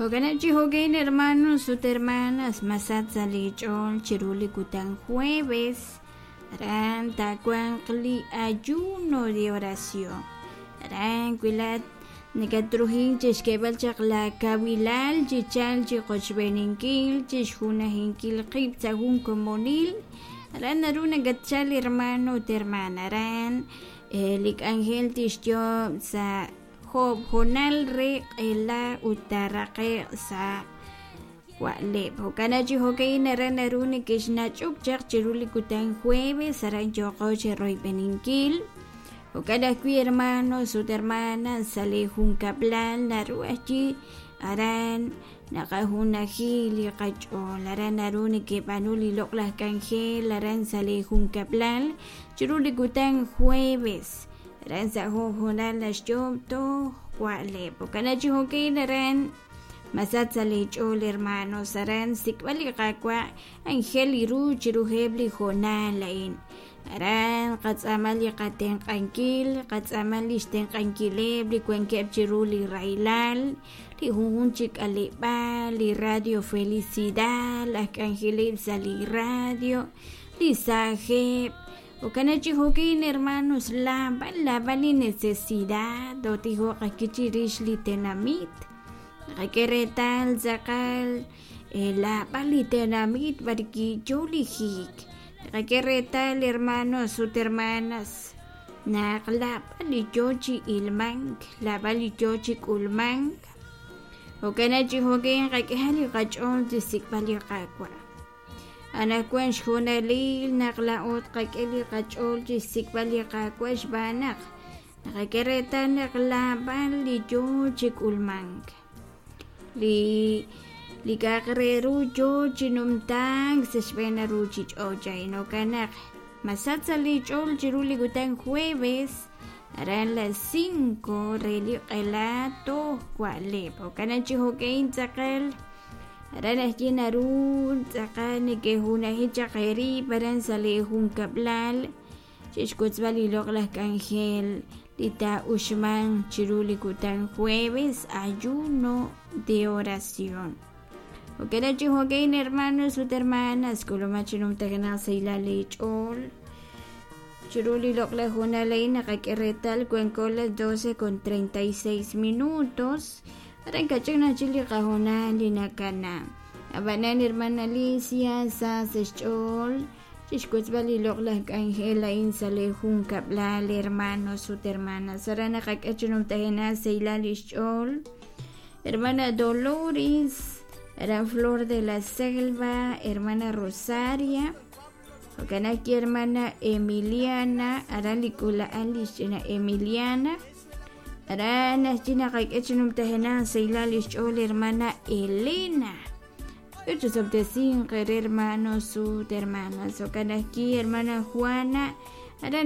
Jo'kan chi jo'kan, hermanos ut hermanas, masach sa' li ch'ool chiru li kutan jueves aran taawanq li ayuno de oración. Aran wi laat nakatruhin chixk'eeb'al chaq la kawilal chi chalk chi qochb'eeninkil, chixjunajinkil qib' sa' jun komonil, aran naru nakatchal hermano ut hermana. Aran li k'anjel tixyoob' sa' joob' hoonal re q'ela ut taaraqe'q sa' wa'leb'. Jo'kan chi jo'ka'in aran naru nekexnach'ok chaq chiru li kutan jueves, aran yooqo cheroyb'eninkil. Jo'kan ajwi' hermanos ut hermanas, sa' li junkab'lal naru ajwi' aran naqajunaji li qach'ool, aran naru nekeb'aanu li loq'laj k'anjel aran sa' li junkab'lal chiru li kutan jueves, aran sa' jun hoonal naxyoob' toj wa'leb'. Jo'kan chi jo'ka'in aran masach sa' li ch'ool, hermanos, aran xsik'b'al li Qaawa' anjel li ru chiruheb' li hoonal a'in. Aran qatz'aama li qatenq'ankil, qatz'aama li xtenq'ankileb' li wankeb' chiru li rahilal, li junjunq chi k'aleb'aal, li Radio Felicidad, laj k'anjeleb' sa' li radio, li saajeb'. Jo'kan chi jo'kin, hermanos, laab'al laab'al li necesidad tootijoq ajwi' chirix li tenamit. Naqak'e reetal tz'aqal laab'al li tenamit b'arwi' yo li hiik. Naqak'e reetal, hermanos ut hermanas, naq laab'al li yo chi ilmank, laab'al li yo chi k'ulmank. Jo'kan chi jo'kin qak'ehaq li qach'ool chi xsik'b'al li Qaawa'. Anaqwan xhoonalil naq laa'o tqak'e li qach'ool chi xsik'b'al li Qaawa' xb'aan naq naqak'e reetal naq laab'al li yo chi k'ulmank. Li k'a'aq re ru yo chi numtaak sa' xb'een li ruuchich'och' a'in. Jo'kan naq masach sa' li ch'ool chiru li kutan jueves aran las 5 re li q'ela toj wa'leb'. Jo'kan chi jo'ka'in tz'aqal aran ajwi' naru tz'aqal neke'junaji chaq eerib' aran sa' li junkab'lal chixwotzb'al li loq'laj k'anjel li taa'uxmanq chiru li kutan jueves ayuno de oración. Jo'kan chi jo'ka'in, hermanos ut hermanas, k'ulumaq chi numtajenaq sahilal li ch'ool. Chiru li loq'laj hoonal a'in naqak'e reetal wanko las 12:36 minutos. Aran kach'in ajwi' li qahoonal li nakana. Ab'anan, hermana Alicia, sa sa' xch'ool chixwotzb'al li loq'laj k'anjel a'in sa' li junkab'lal, hermanos ut hermanas. Aran naqak'e chi numtajenaq sahilal li xch'ool. Hermana Dolores, aran Flor de la Selva, hermana Rosaria, jo'kan ajwi' hermana Emiliana, aran li k'uula'al li xch'ina Emiliana. Aran ajwi' naqak'e chi numtajenaq sahilal li xch'ool hermana Elena. Osob'tesinq eere, hermanos ut hermanas. Jo'kan ajwi' hermana Juana, aran